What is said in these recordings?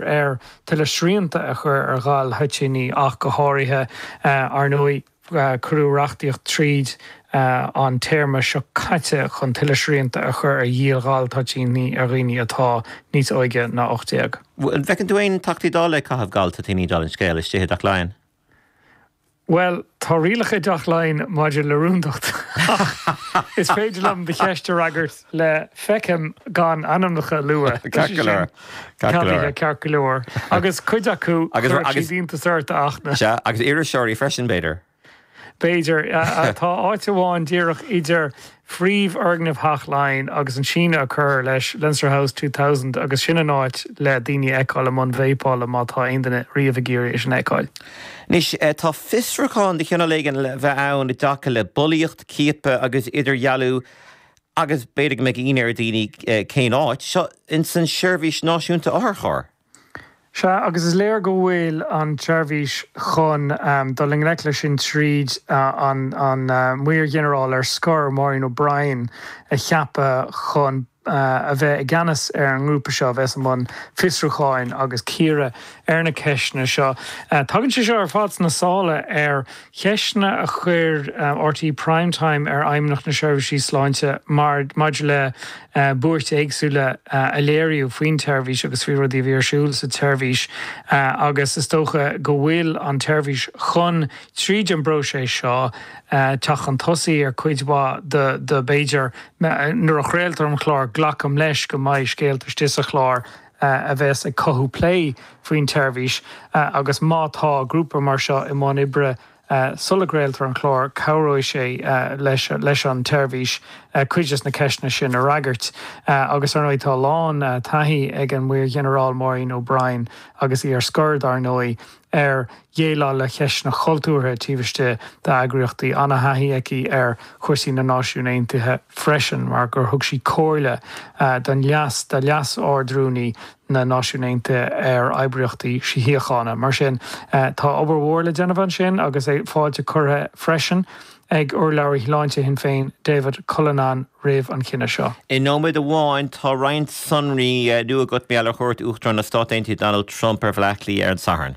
ar tuilleadh srianta a chur ar ghal-thoitíní ach go háirithe. Ar ndóigh, cuireadh reachtaíocht tríd an téarma seo caite chun tuilleadh srianta a chur ar dhíol ghal-toitíní ar dhaoine atá níos óige ná 18. An bhfeiceann tú aon Teachtaí Dála ag caitheamh gal-toitíní dála an scéil istigh i dTeach Laighean? Bhuel, tá rialacha i dTeach Laighean maidir le rúndacht, ach is féidir liom do cheist a fhreagairt le 'feicim' gan ainmneacha a lua. Ceart go leor. Ceart go leor. Ceart go leor. Agus cuid acu, chuirfeadh siad iontas ort, a Fhachtna. Sea, agus iriseoirí freisin, b'fhéidir. B'fhéidir. Tá áit amháin díreach idir phríomhfhoirgneamh Theach Laighean agus an síneadh a cuireadh leis, Leinster House 2000, agus sin an áit le daoine a fheiceáil i mbun veidhpeála má tá aon duine riamh ag iarraidh é sin a fheiceáil. Anois, tá fiosrúchán de chineál éigin le bheith ann i dtaca le bulaíocht, ciapadh agus idirdhealú agus b'fhéidir go mbeidh ionadh ar dhaoine cén áit, seo ins an tSeirbhís Náisiúnta Otharcharr. Sea, agus is léir go bhfuil an tseirbhís chun dul i ngleic leis sin tríd an Maor-Ghinearál ar scor, Maureen O'Brien, a cheapadh chun a bheith i gceannas ar an ngrúpa seo a bheas i mbun fiosrúcháin agus cíoradh ar na ceisteanna seo. Tagann sé seo ar fad sna sála ar cheisteanna a chuir RTÉ Prime Time ar Fheidhmeannacht na Seirbhísí Sláinte maidir le buairt éagsúla a léiríodh faoin tseirbhís agus faoi rudaí a bhí ar siúl sa tseirbhís agus is dócha go bhfuil an tseirbhís chun, tríd an bpróiseas seo, teacht chun tosaigh ar cuid mhaith de b'fhéidir nuair a chraoltar an clár, glacaim leis go mbeidh scéalta istigh sa chlár a bheas ag cothú plé faoin tseirbhís agus má tá grúpa mar seo i mbun oibre Sula gcraoltar an clár, cabhróidh sé leis an tseirbhís cuid des na ceisteanna sin a fhreagairt. Agus ar ndóigh tá a lán taithí ag an Maor-Ghinearál Maureen O'Brien, agus í ar scor dar ndóigh, ar dhéileáil le ceisteanna cultúrtha taobh istigh d'eagraíochtaí. Ana-thaithí aici ar chúrsaí na Náisiún Aontaithe freisin mar gur thug sí comhairle don leas, do Leas-Ardrúnaí na Náisiún Aontaithe ar oibríochtaí síochána. Mar sin, tá obair mhór le déanamh ansin agus fáilte curtha freisin ag urlabhraí shláinte Shinn Féin, David Cullinane, roimh an chinneadh seo. I nóiméad amháin, tá roinnt sonraí nua agat mar gheall ar chuairt Uachtarán na Stát Aontaithe Donald Trump ar Bhaile Átha Cliath ar an Satharn.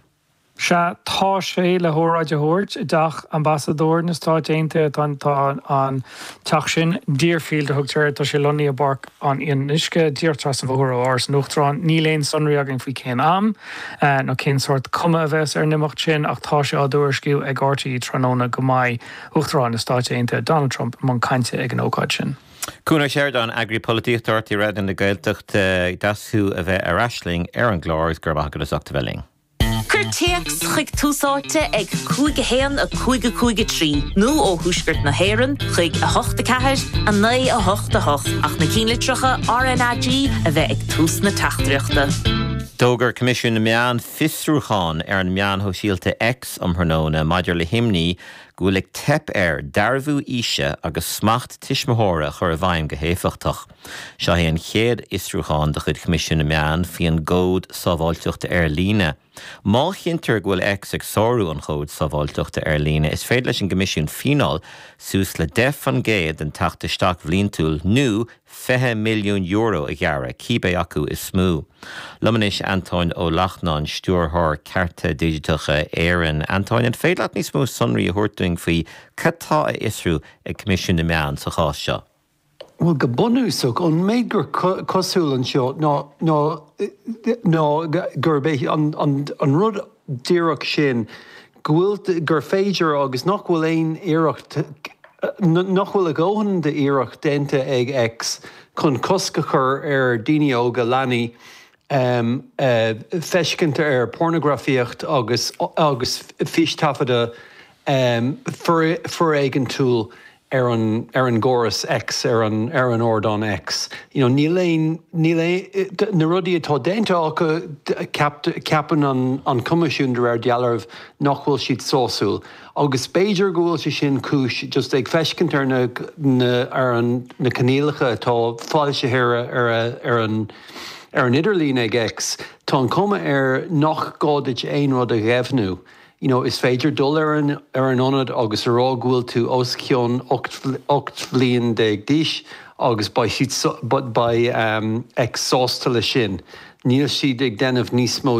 Sea, tá sé le hóráid a thabhairt i dTeach Ambasadóir na Stáit Aontaithe. Tá an teach sin, Deerfield a thugtar air, tá sé lonnaithe i bPáirc an Fhionnuisce, díreach trasna an bhóthair ó Áras an Uachtaráin. Níl aon sonraí againn faoi cén am nó cén sórt cuma a bheas ar an imeacht sin ach tá sé á dtuairisciú ag RTÉ tráthnóna go mbeidh Uachtarán na Stáit Aontaithe, Donald Trump, i mbun cainte ag an ócáid sin. Cuan Ó Seireadáin, Eagraí Polaitíochta RTÉ Raidió na Gaeltachta, deas thú a bheith ar ais linn ar an gclár agus go raibh maith agat as ucht a bheith linn. Cuir téacs chuig Tús Áite ag 5 1 5 5 3 nó ó Thuaisceart na hÉireann chuig 8 4 9 8 8 ach na cinnlitreacha RnaG a bheith ag tús na teachtaireachta. D'fhógair Coimisiún na Meán fiosrúchán ar an meán shóisialta X um thráthnóna maidir le himní go bhfuil ag teip air dearbhú aoise agus smacht tuismitheora a chur i bhfeidhm go héifeachtach. Seo é an chéad fhiosrúchán de chuid Choimisiún na Meán faoin gCód Sábháilteachta Ar Líne. Má chinntear go bhfuil X ag sárú an Chóid Sábháilteachta Ar Líne, is féidir leis an gCoimisiún fíneáil suas le 10% den teacht isteach bhliantúil nó €20 milliún a ghearradh, cibé acu is mó. Liom anois Antóin Ó Lachtnáin, Stiúrthóir Cearta Digiteacha Éireann. Antóin, an féidir leat níos mó sonraí a thabhairt dúinn faoi cad tá á fhiosrú ag Coimisiún na Meán sa chás seo? Bhuel, go bunúsach, an méid gur cosúil anseo ná ná gurb é an rud díreach sin go bhfuil, gur féidir agus nach bhfuil aon iarracht, nach bhfuil a dhóthain d'iarracht déanta ag X chun cosc a chur ar daoine óga, leanaí, feiscint ar pornagrafaíocht agus agus fístaifeadadh foréigeantúil ar an ar an gcóras X, ar an ar an ardán X. You know, níl aon, níl aon, na rudaí atá déanta acu, ceapann an an Coimisiún de réir dealraimh nach bhfuil siad sásúil. Agus b'fhéidir go bhfuil sé sin cúis just ag feiscint ar na na ar an na coinníollacha atá foilsithe ar ar ar an ar an idirlíon ag X, tá an chuma air nach gá duit aon rud a dheimhniú. You know, is féidir dul ar an ar an ionad agus a rá go bhfuil tú os cionn 18 bhliain d'aois agus beidh siad beidh X sásta leis sin. Níl siad ag déanamh níos mó.